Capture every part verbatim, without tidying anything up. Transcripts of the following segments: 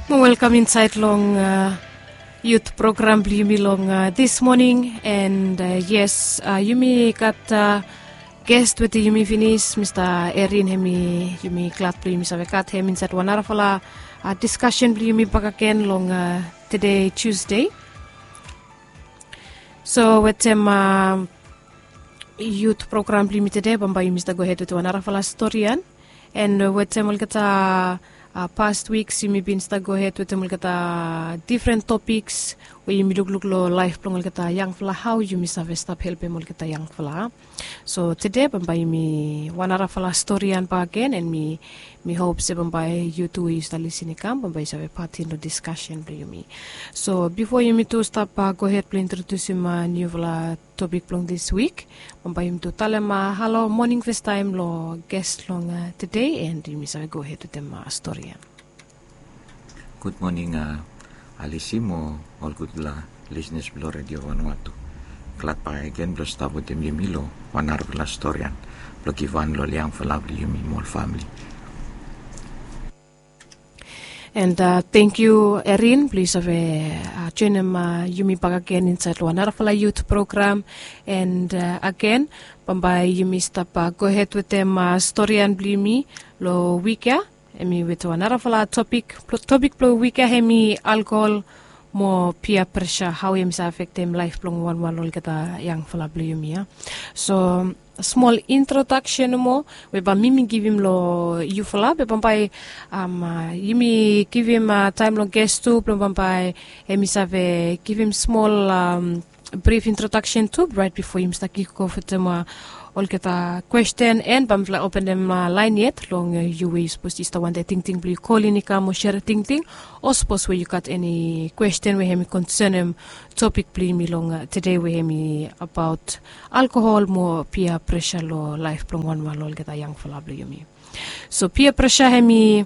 Welkam insaed long yut program blong yumi long dis moning. And yes, yumi gat gest wetem yumi finis, Mista Erin, hemi yumi glad blong yumi save gat hem insaed wan narafala diskasen blong yumi bakegen long tede, Tusde. So wetem yut program blong yumi tede, bambae yumi stap gohed wetem wan narafala storian. And wetem olgeta past wiks yumi bin stap gohed wetem olgeta difren topiks we yumi lukluk long laef blong olgeta yangfala, hao yumi save stap helpem olgeta yangfala. So tede bambae yumi wan narafala storian bakegen, and mi mi hop se bambae yu tu we yu stap lisin i kam, bambae yu save patin long diskasen blong yumi. So bifo yumi tu stap gohed blong introdusim niufala topik blong dis wik, bambae yumi tu talem halo moning fastaem long ges long tede, and yumi save gohed wetem storian. Gud moning, Alisi, mo ol gudfala lisnas blong Redio Vanuatu. Glad bakegen blong stap wetem yumi long wan narafala storian blong givhan long ol yangfala blong yumi mo ol famili. And tangkiu, Erin, blong yu save joenem yumi bakegen insaed long wan narafala yut program. And agen, bambae yumi stap gohed wetem storian blong yumi long wik ya. Hemi wetem wan narafala topik. Topik blong wik ya hemi alkohol mo pia presa, hao hemi save afektem laef blong wanwan olgeta yangfala blong yumi ya. So smol introdaksen nomo we bae mi mi givim long yufala, be bambae yumi givim taem long ges tu blong bambae hemi save givim smol brif introdaksen tu, raet bifo yumi stap kik of wetem olgeta kwesten, and bae mifala openem laen yet long yu we yu sapos yu stap wantem tingting blong yu kolin i kam mo serem tingting, o sapos we yu gat eni kwesten we hemi konsenem topik blong yumi long tede we hemi abaot alkohol mo pia presa long laef blong wanwan olgeta yangfala blong yumi. So pia presa hemi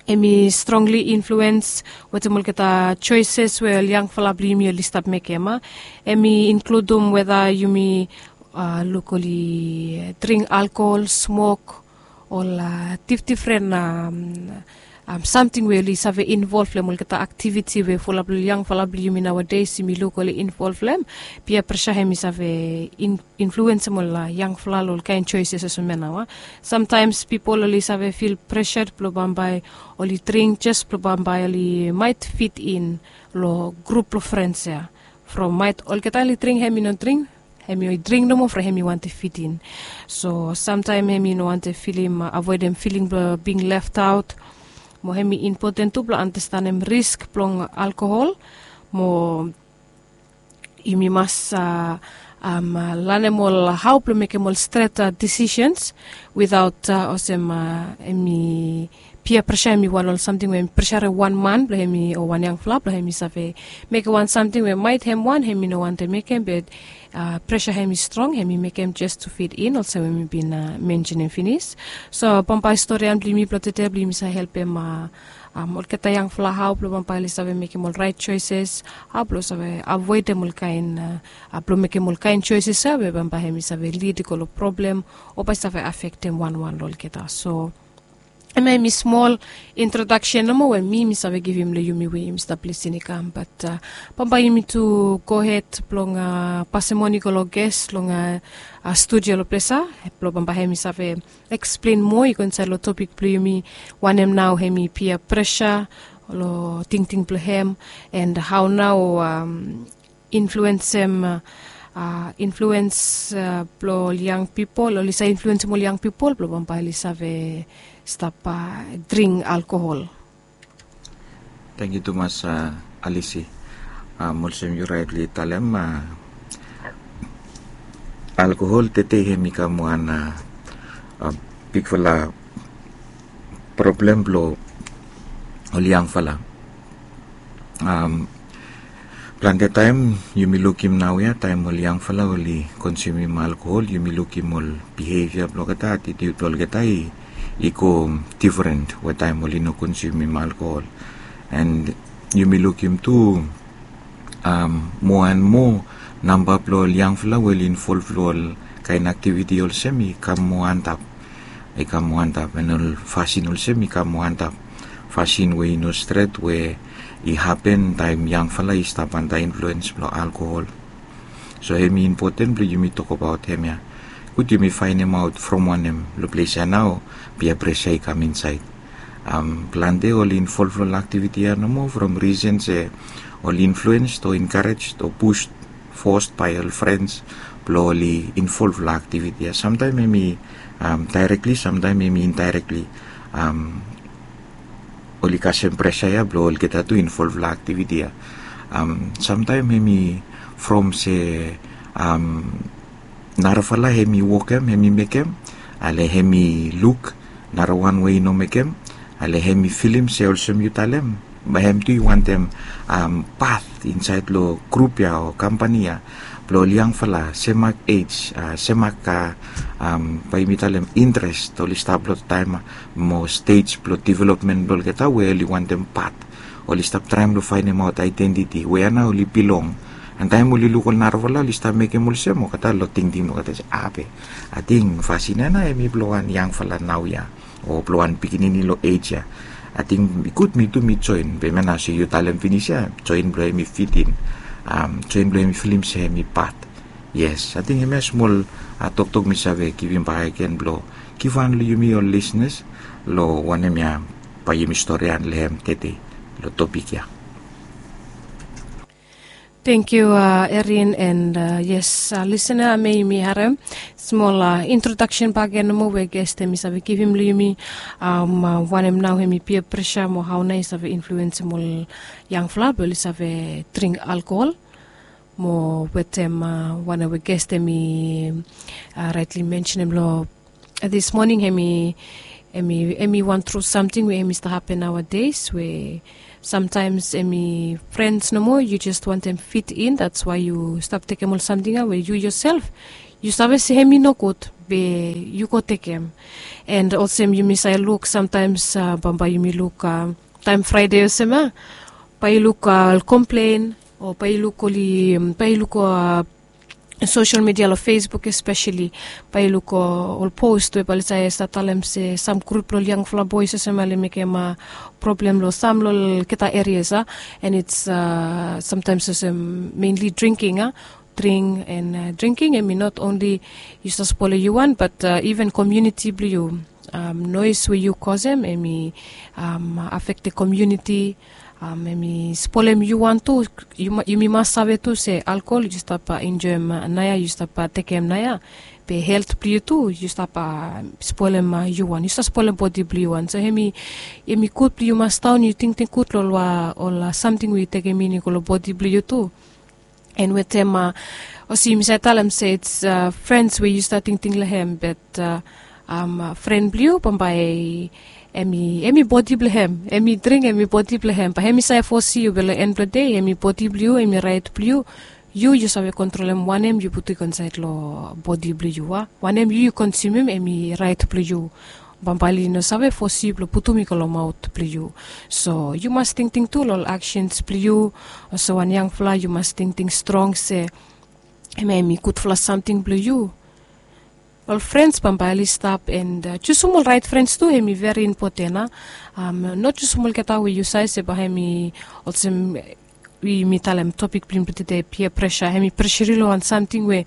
hemi strongli influens wetem olgeta joeses we ol yangfala blong yumi oli stap mekem. Hemi inkludum weta yumi luk oli dring alkohol, smok, ol difdifren samting we oli save involv long olgeta aktiviti we fulap long yangfala blong yumi naoades yumi luk oli involv long hem. Pia presa hemi save influensem ol yangfala long ol kaen joeses olsem ya nao. Samtaems pipol oli save fil presad blong bambae oli dring jes blong bambae oli maet fit in long grup blong frens ya. From maet olgeta oli dring, hemi no dring, hemi oli dring nomo from hemi wantem fit in. So samtaem hemi no wantem filim, avoedem filing blong bing leftaot. Mo hemi impoten tu blong andastanem risk blong alkohol. Mo yumi mas lanem ol hao blong mekem ol stret disisens witaot olsem hemi pia presa hemi wan ol samting we hemi presarem wan man blong hemi o wan yangfala blong hemi save mekem wan samting we maet hem wan hemi no wantem mekem, be presa hemi strong, hemi mekem jes tu fit in olsem we mi bin mensenem finis. So bambae storian blong yumi blong tede blong yumi save helpem olgeta yangfala hao blong bambae oli save mekem ol raet joeses, hao blong save avoedem ol kaen, blong mekem ol kaen joeses ya we bambae hemi save lid i go long problem o bae save afektem wanwan long olgeta. So hemia hemi smol introdaksen nomo we mi mi save givim long yumi we yumi stap lisin i kam, bat bambae yumi tu gohed blong pasem moni go long ges long studio long ples ya, blong bambae hemi save eksplen moa i go insaed long topik blong yumi, wanem nao hemi pia presa long tingting blong hem, and hao nao influensem, influens blong ol yang pipol, oli save influensem ol yang pipol blong bambae oli save stap dring alkohol. Tangkiu tumas, Alisi. Olsem yu raetli talem, alkohol tede hemi kam wan bigfala problem blong ol yangfala. Plante taem yumi lukim naoia taem ol yangfala oli konsumim alkohol, yumi lukim ol bihevia blong olgeta, atitiud blong olgeta i go difren we taem oli no konsumim alkohol. And yumi lukim tu moa and moa namba blong ol yangfala we oli involv long ol kaen aktiviti olsem i kam moa antap. I kam moa antap, and ol fasin olsem i kam moa antap. fasin we i no stret we i hapen taem yangfala i stap antap influens blong alkohol. So hem i impoten blong yumi tokbaot hem ya. Gud yumi faenemaot from wanem long ples ya nao pia presa i kam insaed. Plante oli involv long aktiviti ya nomo from risen se oli influens o enkarej o pus fos bae ol frens blong oli involv long aktiviti ya. Samtaem hem i daerekli, samtaem hem i indaerekli. Oli kasem presa ya blong olgeta tu involv long aktiviti ya. Samtaem hem i from se narafala hem i wokem, hem i mekem, ale hem i luk narawan we i no mekem, ale hem i filim se olsem yu talem, bae hem tu i wantem pat insaed long grup ya o kampani ya blong ol yangfala semak ej, semak, bae yumi talem, intres oli stap long taem mo stej blong developmen blong olgeta we oli wantem pat. Oli stap traem long faenemaot aedentiti we ya nao oli bilong. An taem oli luk ol narafala oli stap mekem olsem, olgeta long tingting blong olgeta se, ape, ating fasin ya nao hem i blong wan yangfala naoia o blong wan pikinini long ej ya. Ating i gud mi tu mi joen, be hemia nao se yu talem finis ya, joen blong hem i fitin, joen blong hem i filim se hem i pat. Yes, ating hemia smol toktok mi save givim bak agen blong givhan long yumi ol lisnas long wanem ya bae yumi storian long hem tede long topik ya. Tengkiu, Erin, and yes, lisena, hemia yumi harem smol introdaksen bak agen nomo we ges hem i save givim long yumi, wanem nao hem i pia presa mo hao nao i save influensem ol yangfala blong oli save dring alkohol mo wetem wanem we ges hem i raetli mensenem long dis moning, hem i, hem i wan tru samting we hem i stap hapen naoades we samtaems hem i frens nomo, yu jes wantem fit in, dats wae yu stap tekem ol samting ya we yu yoself yu save se hem i nogud, be yu go tekem. And olsem yumi save luk samtaems, bambae yumi luk taem Fraede olsem ya, bae yu luk ol komplen o bae yu luk oli, bae yu luk sosel midia long Facebook espeseli, bae yu luk ol pos we bae oli save stap talem se sam grup blong ol yangfala boes olsem ya oli mekem problem long sam long olgeta erias ya. And it's samtaems olsem menli dringking ya, dring and dringking hem i not onli yu save spolem yu wan, bat iven komuniti blong yu. Noes we yu kosem hem i afektem komuniti, hem i spolem yu wan tu. Yumi mas save tu se alkohol yu stap enjoem naoia, yu stap tekem naoia, be helt blong yu tu yu stap spolem yu wan, yu stap spolem bodi blong yu wan. So hem i, hem i gud blong yu mas daon yu tingting gud long ol samting we yu tekem in i go long bodi blong yu tu. And wetem olsem yumi save talem se it's frens we yu stap tingting long hem, bat fren blong yu bambae hem i, hem i bodi blong hem, hem i dring hem i bodi blong hem, bae hem i save fosim yu, be long en blong dei hem i bodi blong yu, hem i raet blong yu. Yu yu save kontrolem wanem yu putum i go insaed long bodi blong yu, a wanem yu yu konsumem hem i raet blong yu. Bambae oli no save fosim yu blong putum i go long maot blong yu. So yu mas tingting tu long ol aksens blong yu. Olsem wan yangfala yu mas tingting strong se hemia hem i gudfala samting blong yu. Ol frens bambae oli stap and jusum ol raet frens tu hem i veri impoten, a. No jusum olgeta we yu save se bae hem i olsem we yumi talem topik blong yumi blong tede, pia presa, hem i presem yu long wan samting we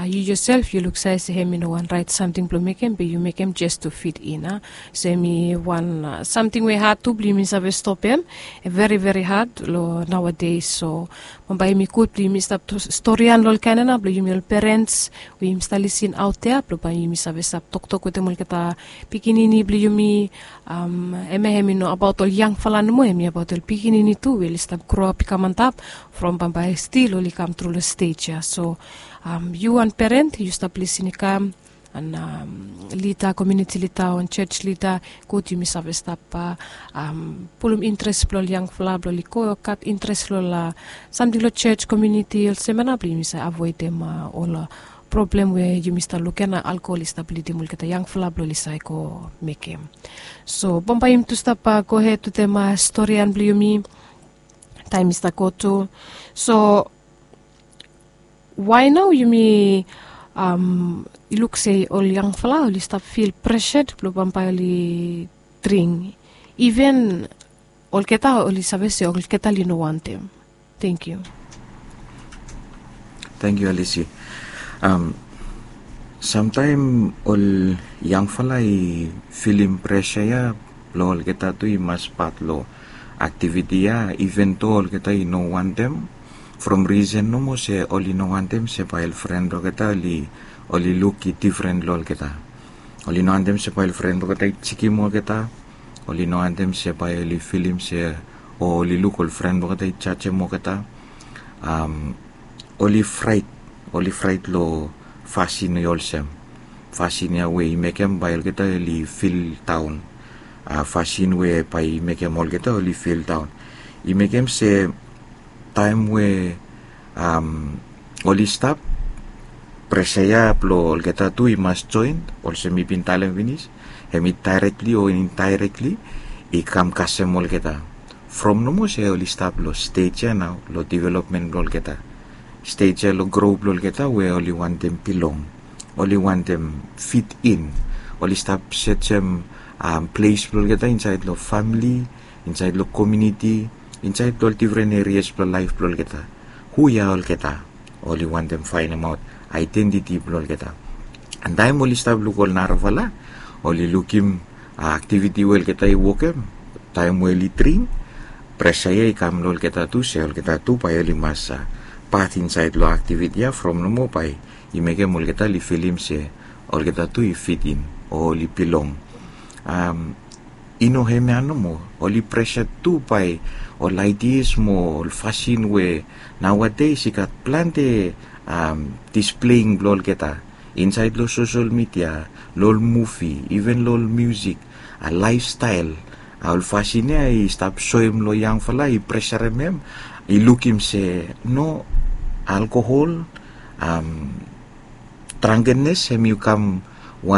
yu yoself yu luksave se hem i no wan raet samting blong mekem, be yu mekem jes tu fit in, a. So hem i wan samting we had tu blong yumi save stopem. Veri veri had long naoades. So bambae hem i gud blong yumi stap storian long ol kaen ya nao blong yumi ol perens we yumi stap lisin aotea blong bae yumi save stap toktok wetem olgeta pikinini blong yumi. Hemia hem i no abaot ol yangfala nomo, hem i abaot ol pikinini tu we oli stap groap i kam antap from bambae stil oli kam tru long stej ya. So yu wan peren yu stap lisin i kam, an lida, komuniti lida o wan jos lida, gud yumi save stap pulum intres blong ol yangfala blong oli go gat intres long ol samting long jos, komuniti, olsem ya nao blong yumi save avoedem ol problem we yumi stap luk ya nao alkohol i stap lidim olgeta yangfala blong oli save go mekem. So bambae yumi tu stap gohed wetem storian blong yumi. Taem i stap go tu. So wae nao yumi luk se ol yangfala oli stap fil presed blong bambae oli dring Iven olgeta oli save se olgeta oli no wantem. Thank you. Thank you, Alice. Um, samtaim ol yangfala i filim presa ya, lo olgeta tu i mas pat lo aktiviti ya, even to olgeta i no wantem. From risen nomo se oli no wantem se bai ol fren blogeta oli oli luk i difren lo olgeta. Oli no wantem se bai ol fren blogeta i jikim olgeta. Oli no wantem se bai oli filim se o oli luk ol fren blogeta i jajem olgeta. Um, oli frait oli frait lo fasin i olsem fasin ya we i mekem bai olgeta oli fil daun. Uh, fasin we bai i mekem olgeta oli fil daun i mekem se taim we um, oli stap presa ya blo olgeta tu i mas join olsem mi bin talem finis. Hem i dairekli o indairekli i kam kasem olgeta. From nomo se oli stap lo stej ya nao lo developmen blo olgeta. Stej ya lo gro blo olgeta we oli wantem bilong, oli wantem fit in. Oli stap sejem um, ples blo olgeta insaed lo famili, insaed lo komuniti, insaed lo ol difren erias blo laef blo olgeta. Hu ya olgeta? Oli wantem fainemaot aedentiti blo olgeta. An taim oli stap luk ol narafala oli lukim aktiviti we olgeta i wokem taim we oli dring. Presa ya i kam lo olgeta tu se olgeta tu bai oli mas pat insaed lo aktiviti ya from nomo bai i mekem olgeta oli filim se olgeta tu i fitin o oli bilong. Um, i no hemia nomo, oli presa tu bai ol aidias mo ol fasin we naoades i gat plante um, displeing blo olgeta insaed lo sosel midia, lo ol muvi, even lo ol musik, a laefstael. A ol fasin ya i stap soem lo yangfala i presarem hem i lukim se no, alkohol, um, drangkenes hem i kam